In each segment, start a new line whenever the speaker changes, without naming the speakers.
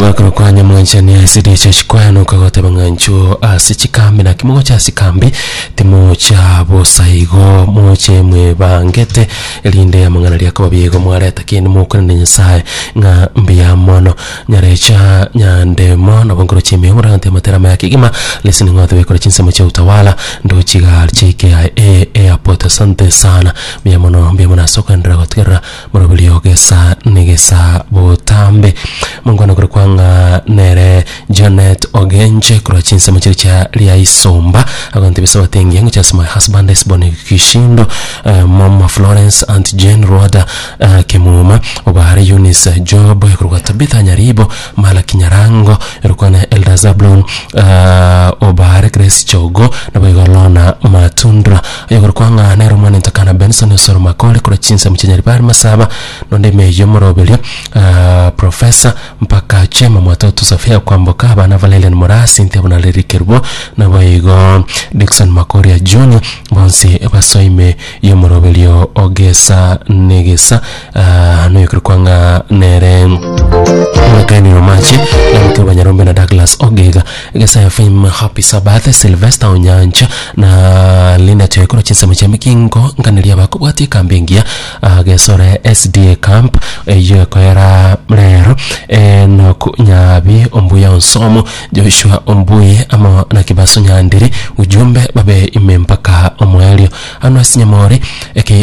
Omogakano kwa nyamwanchani ase riicho chikwayanoka goteba ng'a inchuo ase chikambi naki mogocha ase chikambi timocha bosa igo moche mwebangete erinde amang'ana aria akoba buya igo mwareta kende mokwanera Nyasaye ng'a mbuya mono. Nyarecha Nyandemo nabo nkorochia ime omorante amatera amaya kegima listening all the way korwa chinsemo chia Utawala ndochi iga JKIA Airport asante sana mbuya mono mbuya mono ase okoenderera gotigerera Moroberio gesa negesa botambe. Mongwana korokwa ng'a nere Janet Ogenche korwa chinsemo chiria chia Riaisomba agontebia Sabato engiya ngocha ase my husband Esbon Kishindo eh, Mama Florence Aunt Jane Rwada eh, Kemuma Obare Eunice Job korwa Tabitha Nyaribo Malaki Nyarango erokwana Elder Zablon eh, Obare Grace Chogo naboigo Lorna Matundra Oyokorokwa ng'a nere omwana entakana Benson Osoro Makori korwa chinsemo chia Nyaribari Masaba, nonde ime y'omoroberio Professor mpaka Chema Mwatoto Sophia Kwamboka, abana Valerian Moraa, Cynthia Bunareri Kerubo, naboigo Dickson Makoria Junior, bonsi basoa ime y'omoroberio ogesa negesa noyokorokwa ng'a nere Mwekani Omache, Lameck Banyarombe na Douglas Ogega. Egesae FM Happy Sabbath Sylvester Onyancha na Linda Choikoro chinsemo chia Migingo nkaneria abakobwatia ekambi engiya ah, Gesore SDA camp eyio ekoera rero Enock Nyabi Ombuya Onsomo Joshua Ombui amo na Kibaso Nyandiri ujumbe babe ime mpaka omoerio Ano ase Nyamori aka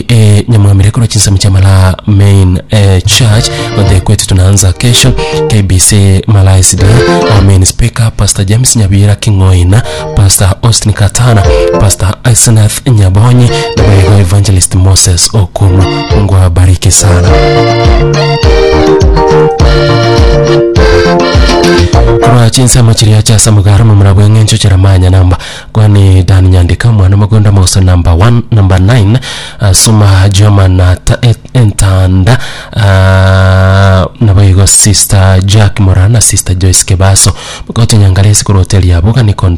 Nyamwamire korwa chinsemo chia Malaa Main eh, Church gote kwetu tunaanza kesho KBC Malaa SDA our main speaker Pastor James Nyabira King'oina Pastor Austin Katana Pastor Isenath Nyabonyi na boigo Evangelist Moses Okumu Mungu awabariki sana korwa chinsemo chiria chia Samugara momura bw'eng'encho Jeremiah Nyanamba Kwani Dan Nyandika omwana omogondo omogoso number 1 number 9 uh, Suma Joma na ta, et, Entanda uh, naboigo Sister Jack Morana Sister Joyce Kebaso Mogote Nyangaresi korwa hoteli ya Boga Niko Down.